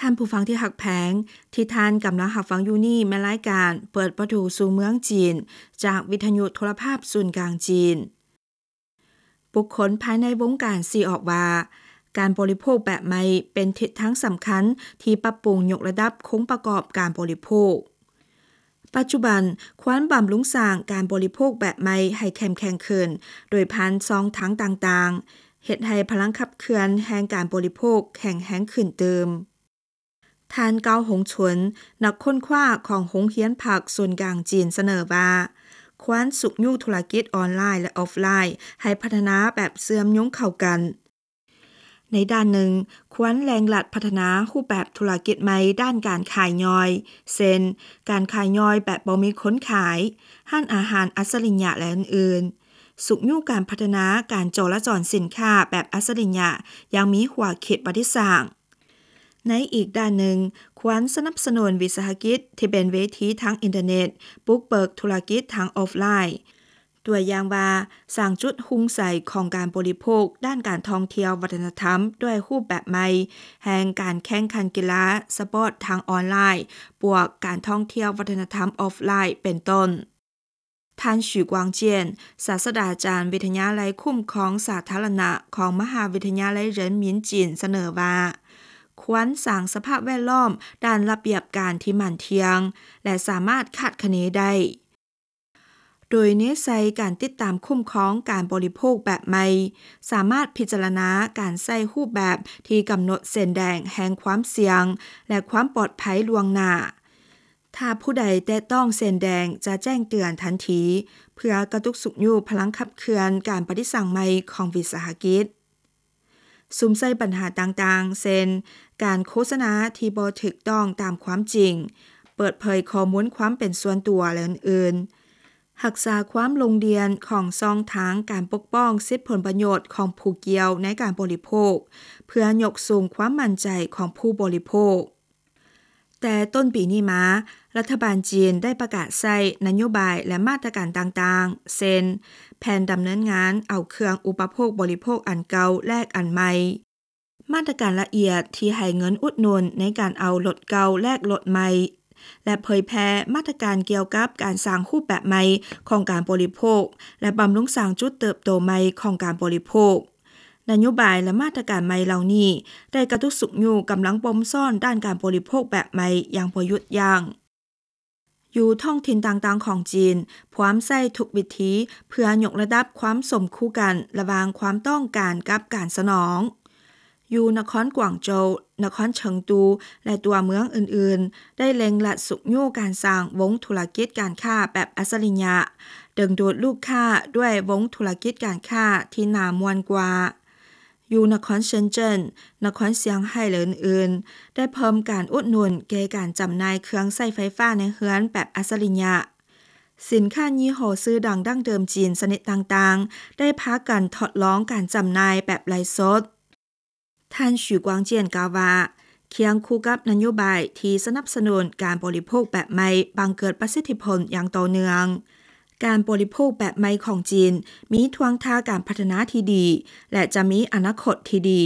ທ່ານຜູ້ຟັງທີ່ຮັກແພງ, ທີ່ທ່ານກຳລັງຮັບຟັງຢູ່ນີ້ແມ່ນລາຍການເປີດປະຕູສູ່ເມືອງຈີນ ຈາກວິທະຍຸໂທລະພາບສູນກາງຈີນ. ບຸກຄົນພາຍໃນວົງການຊີ້ອອກວ່າ ການບໍລິໂພກແບບໃໝ່ເປັນທິດທາງສຳຄັນທີ່ປັບປຸງຍົກລະດັບໂຄງປະກອບການບໍລິໂພກ. ປັດຈຸບັນ, ຄວນບຳລຸງສ້າງການບໍລິໂພກແບບໃໝ່ໃຫ້ເຂັ້ມແຂງຂຶ້ນ ໂດຍຜ່ານຊ່ອງທາງຕ່າງໆ, ເຮັດໃຫ້ພະລັງຂັບເຄື່ອນແຫ່ງການບໍລິໂພກແຂງແຮງຂຶ້ນຕື່ມ. ທ່ານ ເກົາ ຫົງ ຊົນ, ນັກຄົ້ນຄວ້າຂອງໂຮງຮຽນພັກສູນກາງຈີນ ສະເໜີວ່າ ຄວນຊຸກຍູ້ທຸລະກິດອອນລາຍ ແລະ ອອຟລາຍ ໃຫ້ພັດທະນາແບບເຊື່ອມໂຍງເຂົ້າກັນ. ໃນດ້ານໜຶ່ງ, ຄວນເລັ່ງລັດພັດທະນາຮູບແບບທຸລະກິດໃໝ່ດ້ານການຂາຍຍ່ອຍ, ເຊັ່ນ ການຂາຍຍ່ອຍແບບບໍ່ມີຄົນຂາຍ, ຮ້ານອາຫານອັດສະລິຍະ ແລະ ອື່ນໆ. ຊຸກຍູ້ການພັດທະນາການຈໍລະຈອນສິນຄ້າແບບອັດສະລິຍະຢ່າງມີຫົວຄິດປະດິດສ້າງ. ໃນອີກດ້ານໜຶ່ງ, ຄວນສະໜັບສະໜູນວິສາຫະກິດທີ່ເປັນເວທີທາງອິນເຕີເນັດ, ບຸກເບີກທຸລະກິດທາງອອຟລາຍ. ຕົວຢ່າງວ່າ, ສ້າງຈຸດຮຸ່ງໃສຂອງການບໍລິໂພກດ້ານການທ່ອງທ່ຽວວັດທະນະທຳດ້ວຍຮູບແບບໃໝ່ ແຫ່ງການແຂ່ງຂັນກິລາສະປອດທາງອອນລາຍ ບວກການທ່ອງທ່ຽວວັດທະນະທຳອອຟລາຍ ເປັນຕົ້ນ. ທ່ານ 许光健, ສາດສະດາຈານວິທະຍາໄລຄຸ້ມຄອງສາທາລະນະຂອງມະຫາວິທະຍາໄລເຫຣິນໝິນຈີນ ສະເໜີວ່າ ຄວນສ້າງສະພາບແວດລ້ອມດ້ານລະບຽບການທີ່ໝັ້ນທ່ຽງ ແລະ ສາມາດຄາດຄະເນໄດ້, ໂດຍເນັ້ນໃສ່ການຕິດຕາມຄຸ້ມຄອງການບໍລິໂພກແບບໃໝ່, ສາມາດພິຈາລະນາການໃຊ້ຮູບແບບທີ່ກຳນົດເສັ້ນແດງແຫ່ງຄວາມສ່ຽງ ແລະ ຄວາມປອດໄພລ່ວງໜ້າ. ຖ້າຜູ້ໃດແຕະຕ້ອງເສັ້ນແດງຈະແຈ້ງເຕືອນທັນທີ ເພື່ອກະຕຸກຊຸກຍູ້ພະລັງຂັບເຄື່ອນການປະດິດສ້າງໃໝ່ຂອງວິສາຫະກິດ. ສຸມໃສ່ບັນຫາຕ່າງໆ ເຊັ່ນ ການໂຄສະນາທີ່ບໍ່ຖືກຕ້ອງຕາມຄວາມຈິງ, ເປີດເຜີຍຂໍ້ມູນຄວາມເປັນສ່ວນຕົວ ແລະ ອື່ນໆ. ຮັກສາຄວາມໂລ່ງດ່ຽນຂອງຊ່ອງທາງການປົກປ້ອງສິດຜົນປະໂຫຍດຂອງຜູ້ກ່ຽວໃນການບໍລິໂພກ ເພື່ອຍົກສູງຄວາມໝັ້ນໃຈຂອງຜູ້ບໍລິໂພກ. ແຕ່ຕົ້ນປີນີ້ມາ, ລັດຖະບານຈີນໄດ້ປະກາດໃຊ້ນະໂຍບາຍ ແລະ ມາດຕະການຕ່າງໆ ເຊັ່ນ ແຜນດຳເນີນງານເອົາເຄື່ອງອຸປະໂພກບໍລິໂພກອັນເກົ່າແລກອັນໃໝ່, ມາດຕະການລະອຽດທີ່ໃຫ້ເງິນອຸດໜູນໃນການເອົາລົດເກົ່າແລກລົດໃໝ່ ແລະ ເຜີຍແຜ່ມາດຕະການກ່ຽວກັບການສ້າງຮູບແບບໃໝ່ຂອງການບໍລິໂພກ ແລະ ບຳລຸງສ້າງຈຸດເຕີບໂຕໃໝ່ຂອງການບໍລິໂພກ. ນະໂຍບາຍ ແລະ ມາດຕະການໃໝ່ເຫຼົ່ານີ້ ໄດ້ກະຕຸກຊຸກຍູ້ກຳລັງບົ່ມຊ້ອນດ້ານການບໍລິໂພກແບບໃໝ່ຢ່າງບໍ່ຢຸດຢັ້ງ. ຢູ່ທ້ອງຖິ່ນຕ່າງໆຂອງຈີນ, ພວມໃຊ້ທຸກວິທີເພື່ອຍົກລະດັບຄວາມສົມຄູ່ກັນລະຫວ່າງຄວາມຕ້ອງການກັບການສະໜອງ. ຢູ່ນະຄອນກວາງໂຈວ, ນະຄອນເຊີງຕູ ແລະ ຕົວເມືອງອື່ນໆ ໄດ້ເລັ່ງລັດຊຸກຍູ້ການສ້າງວົງທຸລະກິດການຄ້າແບບອັດສະລິຍະ, ດຶງດູດລູກຄ້າດ້ວຍວົງທຸລະກິດການຄ້າທີ່ໜາມວນກວ່າ. ຢູ່ນະຄອນເຊິນເຈິນ, ນະຄອນຊຽງໄຮ້ ແລະ ອື່ນໆ ໄດ້ເພີ່ມການອຸດໜູນແກ່ການຈຳໜ່າຍເຄື່ອງໃຊ້ໄຟຟ້າໃນເຮືອນແບບອັດສະລິຍະ. ສິນຄ້າຍີ່ຫໍ້ຊື່ດັງດັ້ງເດີມຈີນຊະນິດຕ່າງໆ ໄດ້ພາກັນທົດລອງການຈຳໜ່າຍແບບໄລຟ໌ສົດ. ທ່ານ 许光健 ກ່າວວ່າ, ຄຽງຄູ່ກັບນະໂຍບາຍທີ່ສະໜັບສະໜູນການບໍລິໂພກແບບໃໝ່ບັງເກີດປະສິດທິຜົນຢ່າງຕໍ່ເນື່ອງ, ການບໍລິໂພກແບບໃໝ່ຂອງຈີນມີທ່ວງທ່າການພັດທະນາທີ່ດີ ແລະ ຈະມີອະນາຄົດທີ່ດີ.